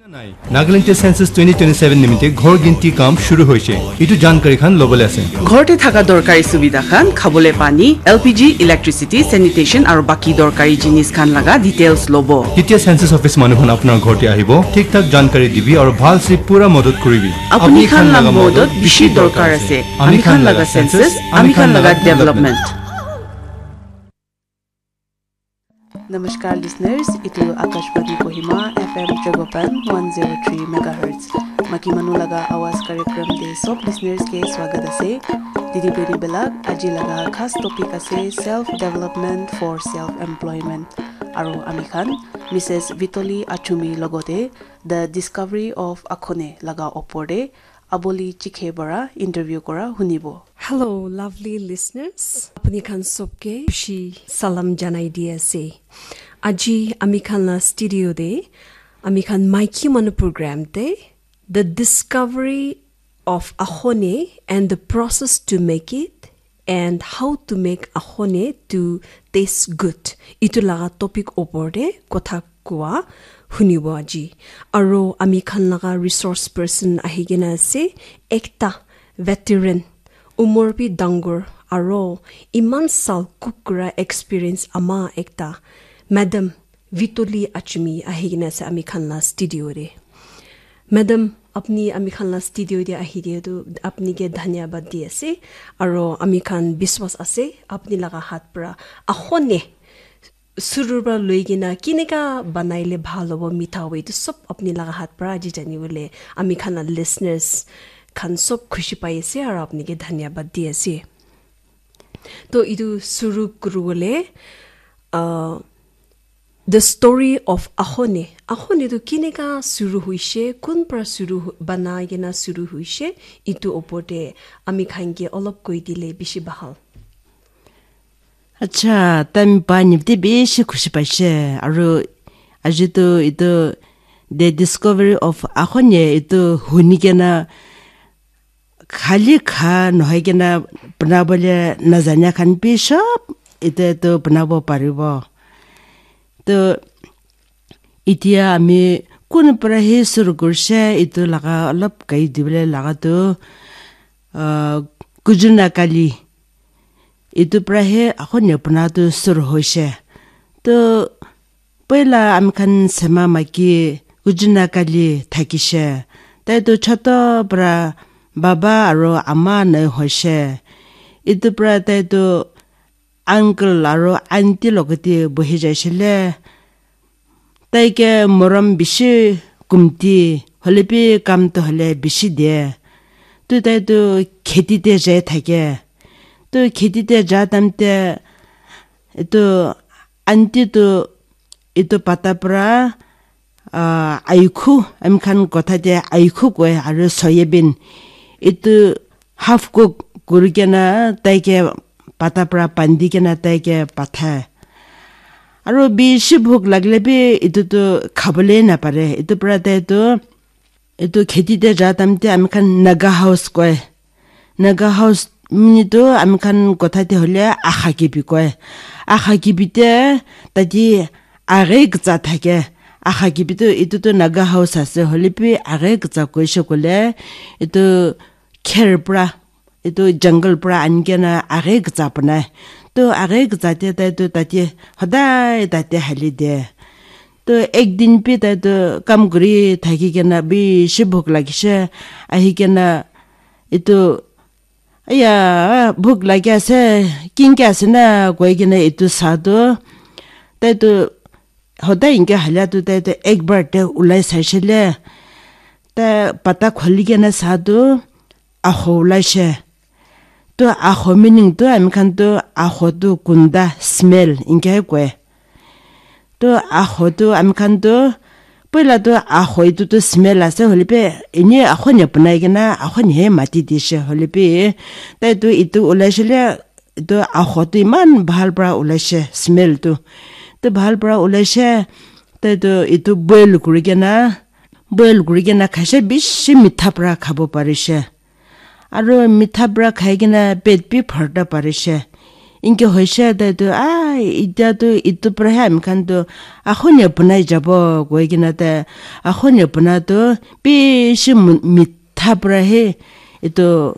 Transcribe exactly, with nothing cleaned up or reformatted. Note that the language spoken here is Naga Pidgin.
Nagaland te census twenty twenty-seven nimite ghor ginti kam shuru hoise. Itu jankari khan lobole ase. ঘৰতে থকা দৰকাৰী সুবিধা খান খাবলৈ পানী, এল পি জি, ইলেক্ট্ৰিচিটি, চেনিটেশ্যন আৰু বাকী দৰকাৰী জিনিছ খান লগা ডিটেইলছ ল'ব। কেতিয়া census office মানুহ খন আপোনাৰ ঘৰতে আহিব, ঠিক ঠাক জানকাৰী দিবি আৰু ভাল চে পুৰা মদত কৰিবি। আপুনি খান লাগ মদত বেছি দৰকাৰ আছে। আমি খান লগা census, আমি খান লগা ডেভেলপমেণ্ট। Namaskar listeners, itu Akashvani Kohima F M Tragopan one zero three megahertz. Maki manu laga awaz कार्यक्रम te sob listeners ke swagat ase. Didi beri belak, aji laga khas topic ase self development for self employment. Aru ami khan Missus Vitoli Achumi logote The Discovery of Akhone laga opor te Aboli Chikhe para interview kora hunibo. Hello, lovely listeners. Apni khan sobke khushi salam janai di ase. Aji ami khan la studio de ami khan maiki manu program te The Discovery of Ahone and the Process to Make It and How to Make Ahone to Taste Good. Itu laga topic opor de kotha koa hunibo aji. Aro ami khan laga resource person ahi kena ase, ekta veteran, umor bi dangor, aro iman sal cook kura experience ama ekta, Madam Vitoli Achumi ahi kena ase ami khan la studio de. Madam, apni ami khan la studio de ahi dia tu apni ke dhanyabad di ase, aro ami khan biswas ase apni laga hat pra ahone surur pra loi kena kineka banaile bhal hobo mitha hobo, etu sob apni laga hat pra aji jani bole ami khan la listeners khan sob khushi pai ase aro apni ke dhanyabad di ase. To etu suru kuru bole, uh, the story of Ahone. Ahone tu kineka suru hoishe, kun pra suru hu-, banai kena suru hoishe, etu opor te ami khan ke olop koi dile bishi bhal. Acha, time pa nipte bishi khushi paishe. Aru aji tu itu The Discovery of Ahone itu huni kena khali kha nohoi kena banabole najanya khan bi sob itu itu banabo paribo. To Itya ami kun pra he suru kurshe, itu laga olop kai dibole laga tu, ah, Kujuna Kali. Itu pra he ako nepna tu suru hoishe. To poila ami khan sema maki Kujuna Kali thakishe. Tai tu choto pra baba aro ama nai hoishe. Itu pra tai tu uncle aro aunty logate bohi jaishile. Tai ke morom bishi kumti, hoile bi kam to hoile bishi de. Tu tai tu kheti te jai thake. Tu kheti te ja time te etu aunty tu etu pata pra ah, aikhu, ami khan kotha te aikhu koi, aru soyabin. Itu half cook kuri kena tai ke pata pra bandi kena tai ke pathai. Aru bishi bhuk lagile bi itu tu khabole napare. Itu pra tai tu, itu kheti te ja time te ami khan Naga house koi. Naga house mini tu ami khan kotha te hoile akha kibi koi. Akha kibi te tadi age gza thake. Akha kibi tu itu tu Naga house ase, hoile bi age gza koishe koile itu kher pra, itu jungle pra ani kena age gza banai. Tu age gza te tai tu tate hodai tate hali de. Tu ek din bi tai tu kam kuri thaki kena bishi bhuk lagishe. Ahi kena itu, "Aya, bhuk lagi ase, kinke ase na?" koi kena itu sa tu, tai tu hodai inke halia tu tai tu ek bar te ulai saishe le. Tai pata khuli kena sa tu, aho ulaishe. Tu aho meaning tu ami khan tu aho tu kunda, smell inke koi. Tu aho tu ami khan tu, poila tu aho itu tu smell ase, hoile bi eni aho ni banai kena aho ni he mati dishe, hoile bi tai tu itu ulaishe le, itu aho tu iman bhal pra ulaishe, smell tu. Tu bhal pra ulaishe, tai tu itu boil kuri kena, boil kuri kena khaishe, bishi mitha pra khabo parishe. Aru mitha pra khai kena pet bi bharta parishe. Inke hoise tai tu, "Ah, itya tu itu para he ami khan tu akhone bunai jabo," koi kena tai akhone buna tu bishi mu-, mitha para he itu